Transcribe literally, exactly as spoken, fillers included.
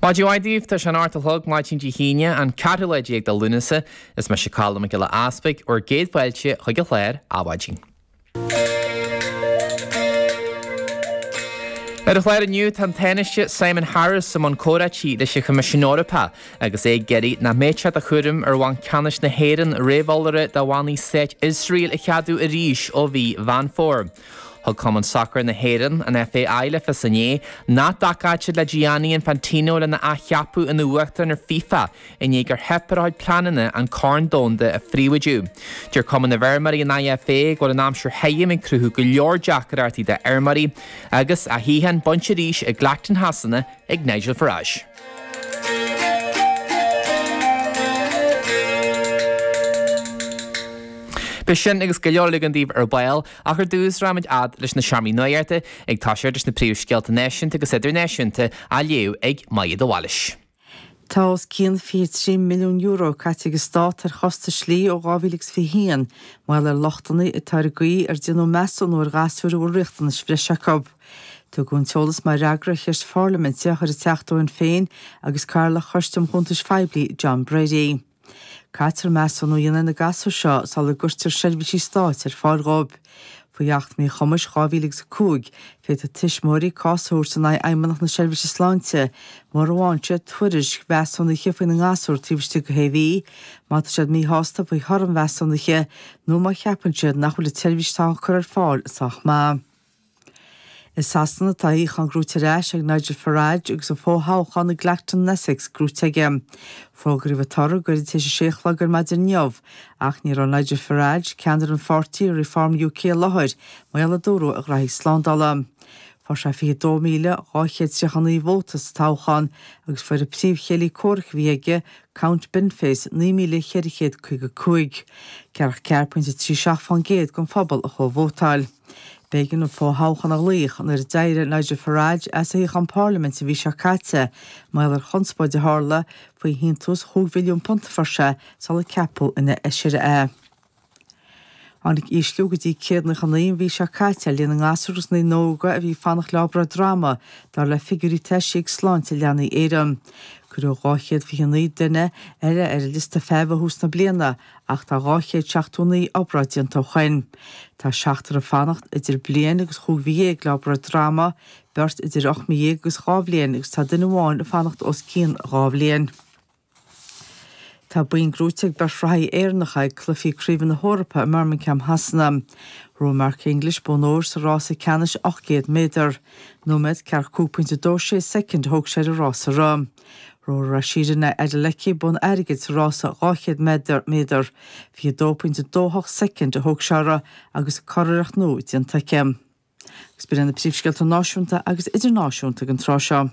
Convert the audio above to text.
Maidin mhaith daoibh, tá sé an ocht a chlog maidin Dé hAoine an ceathrú lá déag de Lúnasa is mise Colm Mac Giolla Easpaig bhur gcéad fáilte chuig an chlár Adhmhaidin. Ar an chlár inniu tá an Tánaiste Simon Harris i mbun comhráití leis an Choimisiún Eorpach agus é ag iarraidh nach mbeadh sé de chúram ar Bhanc Ceannais na hÉireann réamheolaire do bhannaí stáit Iosrael a cheadú arís ó mhí Mheán Fómhair. Thug Cumann Sacair na hÉireann, an FAI, le fios inné nach dtacóidh siad le Gianni Infantino lena athcheapadh ina uachtarán ar FIFA i ndiaidh gur theip ar a chuid pleananna an Corn Domhanda a phríobháidiú. Deir Cumann na bhFeirmeoirí an IFA go bhfuil an aimsir thirim ag cruthú go leor deacrachtaí d'fheirmeoirí agus a shuíochán bainte arís i gClacton Shasana ag Nigel Farage. Beidh sin agus go leor eile againn daoibh ar ball, ach ar dtús rachaimid fhad leis na seomraí nuachta ag toiseacht leis na príomhscéalta náisiúnta agus idirnáisiúnta á léamh ag Maja de Bhailís. Tá os cionn fiche trí milliún euro caite ag an Stát ar chostais dlí ó dhá mhíle agus fiche haon, mar gheall ar lochtanna atá ar an gcaoi ar déanadh measúnú ar ghasúir a bhfuil riachtanais bhreise acu. Tugadh an t-eolas mar fhreagra ar cheist pharlaiminte a chuir an Teachta ó Shinn Féin agus Cathaoirleach Choiste um Chuntais Phoiblí John Brady. Caitear measúnú a dhéanamh ar na gasúir seo sula gcuirtear seirbhísí stáit ar fáil dhóibh. Faoi Acht Míchumais dhá mhíle agus a cúig, féadfaidh tuismitheoirí cás a thabhairt in aghaidh Fheidhmeannacht na Seirbhíse Sláinte mura bhfaigheann siad tuairisc mheasúnaithe faoina ngasúr taobh istigh de shé mhí, má tá siad míshásta faoi thoradh an mheasúnaithe nó má cheapann siad nach bhfuil an tseirbhís atá á cur ar fáil sách maith. I Sasana tá a shuíochán gnóite ar ais ag Nigel Farage agus an fo-thoghchán i gClacton in Essex gnóite aige. Fógraíodh an toradh goirid tar éis a sé a chlog ar maidin inniu ach ní raibh Nigel Farage, ceannaire an pháirtí Reform UK i láthair mar gheall a dúradh ar ghraithí slándála. Fuair sé fiche dó míle dhá chéad tríocha naoi vóta sa toghchán agus fuair an príomhchéile comhraic a bhí aige, Count Binface, naoi míle cheithre chéad caoga cúig. Ceathracha ceathair pointe trí seacht fán gcéad den phobal a chuaigh a vótáil. B'éigean an fo-thoghchán a ghlaoch nuair a d'éirigh Nigel Farage as a shuíochán parlaiminte an mhí seo caite mar gheall ar chonspóid a tharla faoi shíntiús chúig mhilliún punt a fuair sé sular ceapadh ina fheisire é. Tháinig ísliú go dtí céad nócha naoi an mhí seo caite ar líon na ngasúr agus na ndaoine óga a bhí ag fanacht le obráid droma, dar le figiúirí atá eisithe ag Sláinte Leanaí Éireann. Cuireadh dhá chéad fiche naoi duine eile ar an liosta feithimh ó thús na bliana ach tá dhá chéad seachtó naoi obráid déanta ó shoin. Tá seachtar ag fanacht idir bliain agus chúig mhí dhéag le obráid droma, beirt idir ocht mí dhéag agus dhá bhliain agus tá duine amháin ag fanacht os cionn dhá bhliain. Tá boinn gnóite ag beirt reathaí Éireannacha ag Cluichí Craoibhe na hEorpa i mBirmingham Shasana. Ghnóthaigh Mark English bonn óir sa rása ceannais ocht gcéad méadar. Nóiméad, ceathracha cúig pointe dó sé soicind a thóg sé ar an rása a rith. Ghnóthaigh Rhasidat Adeleke bonn airgid sa rása dhá chéad méadar, méadar. fiche dó pointe dó hocht soicind a thóg sé uirthi agus curiarracht nua déanta aici. Agus b'in iad na príomhscéalta náisiúnta agus idirnáisiúnta ag an tráth seo.